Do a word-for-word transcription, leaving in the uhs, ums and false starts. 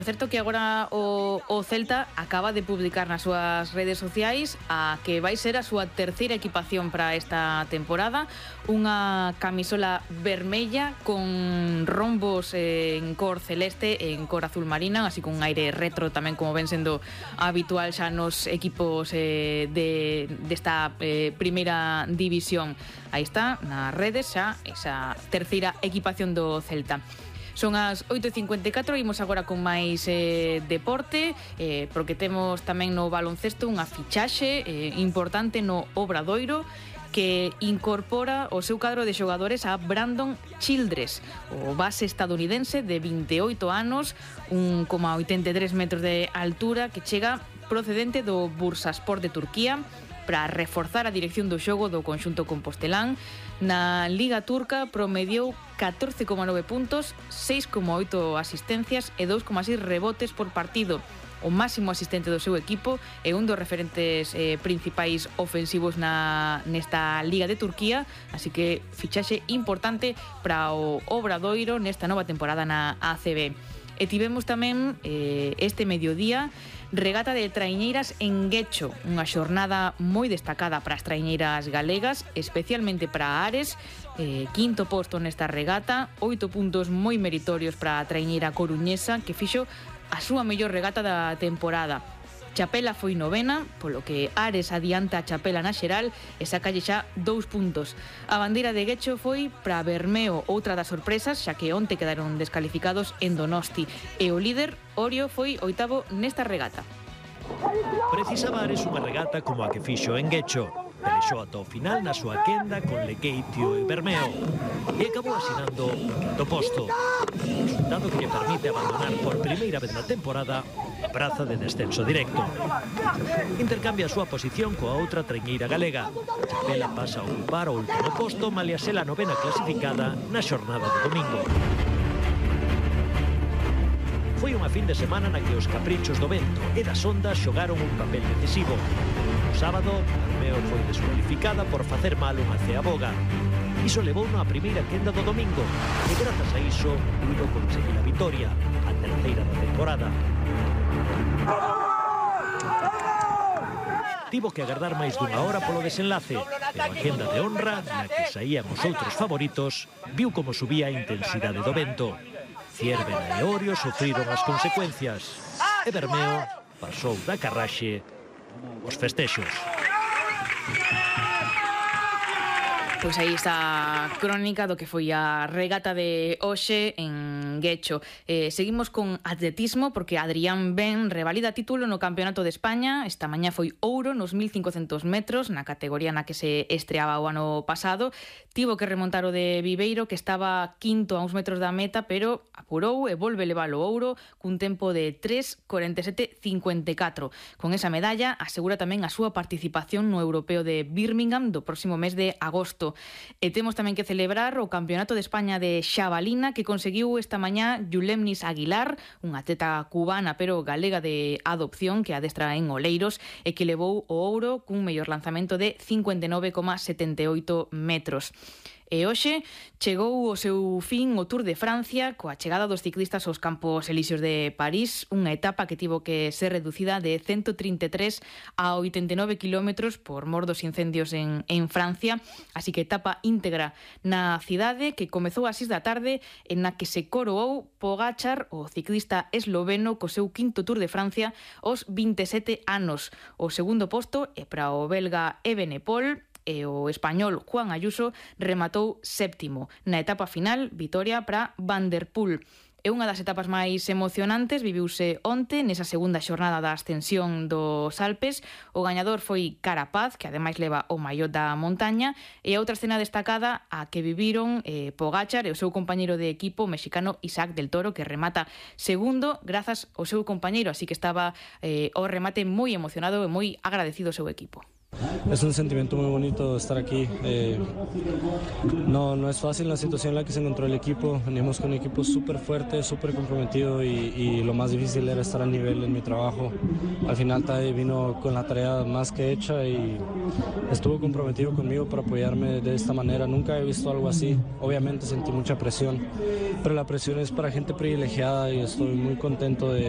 Certo que agora o, o Celta acaba de publicar nas súas redes sociais a que vai ser a súa terceira equipación para esta temporada, unha camisola vermella con rombos en cor celeste e en cor azul marina, así con un aire retro tamén, como ven sendo habitual xa nos equipos eh, de, desta eh, primeira división. Aí está, nas redes xa esa terceira equipación do Celta. Son as oito e cincuenta e catro, imos agora con máis eh, deporte, eh, porque temos tamén no baloncesto unha fichaxe eh, importante no Obradoiro, que incorpora o seu cadro de xogadores a Brandon Childress, o base estadounidense de vinte e oito anos, un coma oitenta e tres metros de altura, que chega procedente do Bursaspor de Turquía para reforzar a dirección do xogo do conxunto compostelán. Na Liga Turca promediou catorce coma nove puntos, seis coma oito asistencias e dous coma seis rebotes por partido. O máximo asistente do seu equipo e un dos referentes eh, principais ofensivos na, nesta Liga de Turquía, así que fichaxe importante para o Obradoiro nesta nova temporada na A C B. E tivemos tamén eh, este mediodía regata de traiñeiras en Guecho, unha xornada moi destacada para as traiñeiras galegas, especialmente para Ares, eh, quinto posto nesta regata, oito puntos moi meritorios para a traiñeira coruñesa, que fixo a súa mellor regata da temporada. Chapela foi novena, polo que Ares adianta a Chapela na xeral e sacalle xa dous puntos. A bandeira de Guecho foi para Bermeo, outra das sorpresas, xa que onte quedaron descalificados en Donosti, e o líder, Orio, foi oitavo nesta regata. Precisaba Ares unha regata como a que fixo en Guecho. Pelexou ata o final na súa quenda con Lequeitio e Bermeo e acabou asinando o quinto posto, resultado que lle permite abandonar por primeira vez na temporada a praza de descenso directo. Intercambia a súa posición coa outra traiñeira galega. Chapela pasa a ocupar o último posto, malia ser a novena clasificada na xornada do domingo. Foi unha fin de semana na que os caprichos do vento e das ondas xogaron un papel decisivo. O sábado, Bermeo foi descualificada por facer mal unha ceaboga. Iso levou na primeira quenda do domingo e grazas a iso puido conseguir a vitoria, a terceira da temporada. Tivo que agardar máis dunha hora polo desenlace, pero a quenda de honra, na que saían os outros favoritos, viu como subía a intensidade do vento. Ciervena e Orio sufriron as consecuencias e Bermeo pasou da carraxe os festexos. Pois aí está a crónica do que foi a regata de hoxe en Guecho. Eh, seguimos con atletismo, porque Adrián Ben revalida título no Campeonato de España. Esta mañá foi ouro nos mil cincocentos metros, na categoría na que se estreaba o ano pasado. Tivo que remontar o de Viveiro, que estaba quinto a uns metros da meta, pero apurou e volve levar o ouro cun tempo de tres cuarenta e sete cincuenta e catro. Con esa medalla asegura tamén a súa participación no Europeo de Birmingham do próximo mes de agosto. E temos tamén que celebrar o Campeonato de España de xabalina, que conseguiu esta mañá Yulemnis Aguilar, unha atleta cubana pero galega de adopción que adestra en Oleiros e que levou o ouro cun mellor lanzamento de cincuenta e nove coma setenta e oito metros. E hoxe chegou o seu fin o Tour de Francia coa chegada dos ciclistas aos Campos Elíseos de París, unha etapa que tivo que ser reducida de ciento trinta e tres a oitenta e nove kilómetros por mor dos incendios en, en Francia, así que etapa íntegra na cidade que comezou ás seis da tarde, en na que se coroou Pogačar, o ciclista esloveno, co seu quinto Tour de Francia aos vinte e sete anos. O segundo posto é para o belga Evenepoel, e o español Juan Ayuso rematou séptimo. Na etapa final, vitoria para Van der Poel. É unha das etapas máis emocionantes, viviuse onte nesa segunda xornada da ascensión dos Alpes. O gañador foi Carapaz, que ademais leva o maior da montaña, e a outra escena destacada a que viviron eh, Pogačar e o seu compañeiro de equipo mexicano Isaac del Toro, que remata segundo grazas ao seu compañeiro, así que estaba eh, ao remate moi emocionado e moi agradecido ao seu equipo. Es un sentimiento muy bonito estar aquí. Eh, no, no es fácil la situación en la que se encontró el equipo. Venimos con un equipo súper fuerte, súper comprometido y, y lo más difícil era estar al nivel en mi trabajo. Al final Tadej vino con la tarea más que hecha y estuvo comprometido conmigo para apoyarme de esta manera. Nunca he visto algo así. Obviamente sentí mucha presión, pero la presión es para gente privilegiada y estoy muy contento de,